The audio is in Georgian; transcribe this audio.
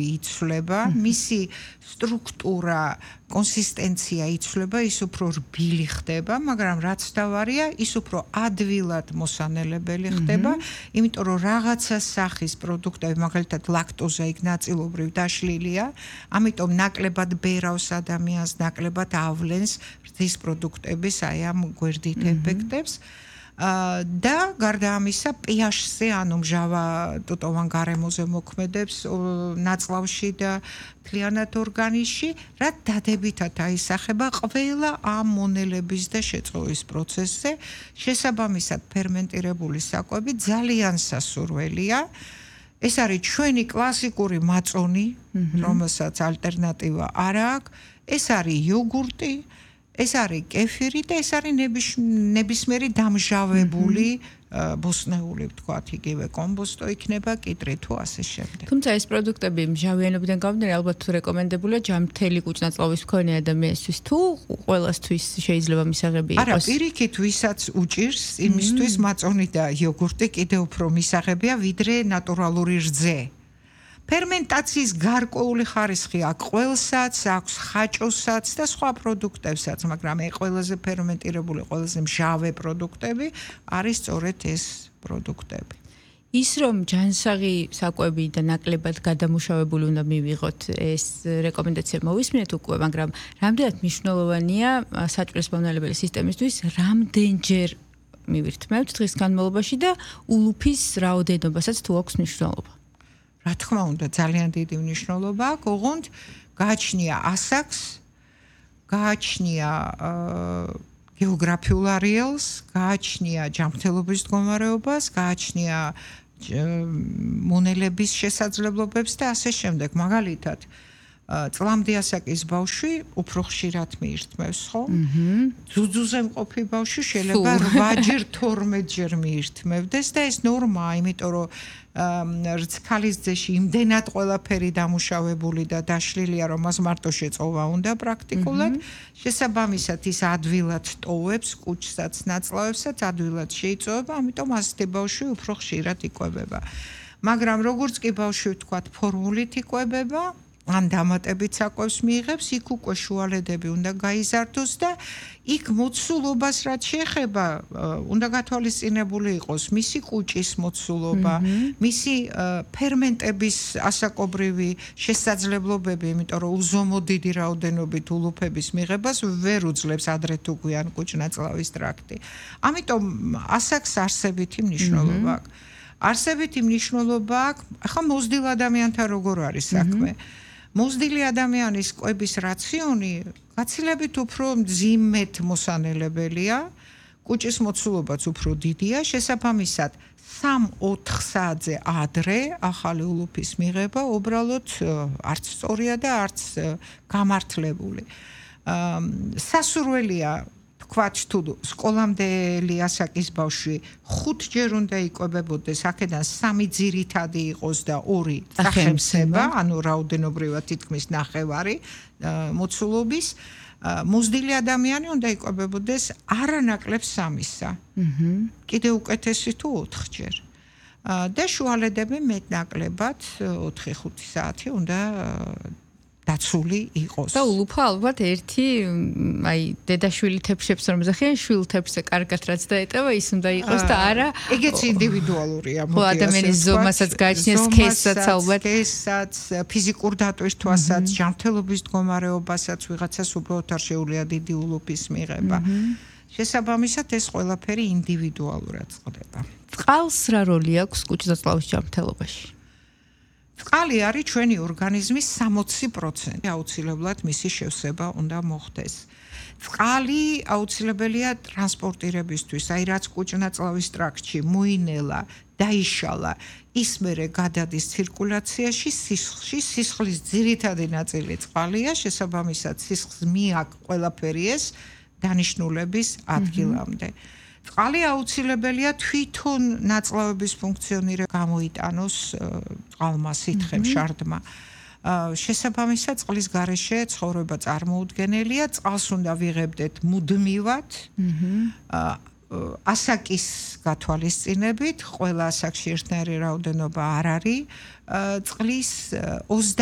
იცვლება, მისი სტრუქტურა, კონსისტენცია იცვლება, ის უფრო რბილი ხდება, მაგრამ რაც დავარია, ის უფრო ადვილად მოსანელებელი ხდება, იმიტომ რომ რაღაცა სახის პროდუქტები, მაგალითად ლაქტოზა იქ ნაწილობრივ დაშლილია, ამიტომ ნაკლებად ბერავს ადამიანს, ნაკლებად ავლენს რძის პროდუქტების აი ამ გვერდით ეფექტებს. და გარდა ამისა pH-ზე ანუ მჟავა ტუტოვან გარემოზე მოქმედებს ნაწლავში და მთლიანად ორგანიზმში, რაც დადებითად აისახება ყველა ამ მონელების და შეწოვის პროცესზე. შესაბამისად, ფერმენტირებული საკვები ძალიან სასურველია. ეს არის ჩვენი კლასიკური მაწონი, რომელსაც ალტერნატივა არ აქვს. ეს არის იოგურტი, ეს არის კეფირი და ეს არის ნებისმიერი დამჟავებული ბოსტნეული, ვთქვათ, იგივე კომბოსტო იქნება, კიტრი თუ ასე შემდეგ. თუმცა ეს პროდუქტები მჟავიანობიდან გამომდინარე ალბათ რეკომენდებულია ჯამთელი კუჭნაწლავის მქონე ადამიანისთვის თუ ყველასთვის შეიძლება მისაღები იყოს? არა, პირიქით ვისაც უჭირს, იმისთვის მაწონი და იოგურტი კიდევ უფრო მისაღებია, ვიდრე ნატურალური რძე. ფერმენტაციის გარკვეული ხარისხი აქვს ყველსაც, აქვს ხაჭოსაც და სხვა პროდუქტებსაც, მაგრამ ყველაზე ფერმენტირებული, ყველაზე მჟავე პროდუქტები არის სწორედ ეს პროდუქტები. ის რომ ჯანსაღი საკვები და ნაკლებად გადამუშავებული უნდა მივიღოთ, ეს რეკომენდაცია მოვისმინეთ უკვე, მაგრამ რამდენად მნიშვნელოვანია საჭმლის მომნელებელი სისტემისთვის, რამდენჯერ მივირთმევთ დღის განმავლობაში და ულუფის რაოდენობასაც თუ აქვს მნიშვნელობა? რა თქმა უნდა, ძალიან დიდი მნიშვნელობა აქვს, ოღონდ გააჩნია ასაკს, გააჩნია გეოგრაფიულ არეალს, გააჩნია ჯანმრთელობის მდგომარეობას, გააჩნია მონელების შესაძლებლობებს და ასე შემდეგ. მაგალითად, წლამდე ასაკის ბავშვი უფრო ხშირად მიირთმევს, ხო? ძუძუზე მყოფი ბავშვი შეიძლება 8-ჯერ, 12-ჯერ მიირთმევდეს და ეს ნორმაა, იმიტომ რომ რცქალის ძეში იმდენად ყველაფერი დამუშავებული და დაშლილია, რომ მას მარტო შეწოვა უნდა პრაქტიკულად. შესაბამისად, ის ადვილად ტოვებს კუჭსაც, ნაწლავებსაც, ადვილად შეიწოვება, ამიტომ ასეთი ბავშვი უფრო ხშირად იკვებება. მაგრამ როგორც კი ბავშვი, ვთქვათ, ფორმულით იკვებება, ან დამატებით საკვებს მიიღებს, იქ უკვე შუალედები უნდა გაიზარდოს და იქ მოცულობას რაც შეეხება, უნდა გათვალისწინებული იყოს მისი კუჭის მოცულობა, მისი ფერმენტების ასაკობრივი შესაძლებლობები, იმიტომ რომ უზომო დიდი რაოდენობით ულუფების მიღებას ვერ უძლებს ადრე თუ გვიან კუჭნაწლავის ტრაქტი. ამიტომ ასაკს არსებითი მნიშვნელობა აქვს. არსებითი მნიშვნელობა აქვს, ახლა მოზრდილ ადამიანთან როგორ არის საქმე? მოზრდილი ადამიანის კვების რაციონი გაცილებით უფრო მძიმედ მოსანელებელია, კუჭის მოცულობაც უფრო დიდია, შესაბამისად 3-4 საათზე ადრე ახალი ულუფის მიღება უბრალოდ არც სწორია და არც გამართლებული. სასურველია თქვათ თუ სკოლამდელი ასაკის ბავშვი 5-ჯერ უნდა იკვებებოდეს, აქედან 3 ძირითადი იყოს და 2 წახემსება, ანუ რაოდენობრივად თითქმის ნახევარი მოცულობის. მოზრდილი ადამიანი უნდა იკვებებოდეს არანაკლებ 3-ისა. კიდე უკეთესი თუ 4-ჯერ. და შუალედები მეტნაკლებად 4-5 საათი უნდა დაცული იყოს. და ულუფა ალბათ ერთი, აი, დედაშვილი თეფშებს რომ ზახიან, შვილ თეფზე კარგად რაც დაეტევა, ის უნდა იყოს და არა. ეგეც ინდივიდუალურია, ხო, ადამიანის ზომასაც გააჩნია, სქესაც ალბათ. სქესაც, ფიზიკურ დატვირთვასაც, ჯანმრთელობის მდგომარეობასაც ვიღაცას უბრალოდ არ შეუძლია დიდი ულუფის მიღება. შესაბამისად, ეს ყველაფერი ინდივიდუალურად წყდება. წყალს რა როლი აქვს კუჭნაწლავის ჯანმრთელობაში? წყალი არის ჩვენი ორგანიზმის 60%. აუცილებლად მისი შევსება უნდა მოხდეს. წყალი აუცილებელია ტრანსპორტირებისთვის, აი რაც კუჭნაწლავის ტრაქტში მოინელა, დაიშალა, ის მერე გადადის ცირკულაციაში, სისხლში, სისხლის ძირითადი ნაწილი წყალია, შესაბამისად სისხლს მიაქვს ყველაფერი ეს დანიშნულების ადგილამდე. წყალი აუცილებელია თვითონ ნაწლავების ფუნქციონირება გამოიტანოს წყალმა, სითხემ, შარდმა. შესაბამისად, წყლის გარეშე ცხოვრება წარმოუდგენელია, წყალს უნდა ვიღებდეთ მუდმივად. ასაკის გათვალისწინებით, ყველა ასაკში ერთნაირი რაოდენობა არ არის წლის 20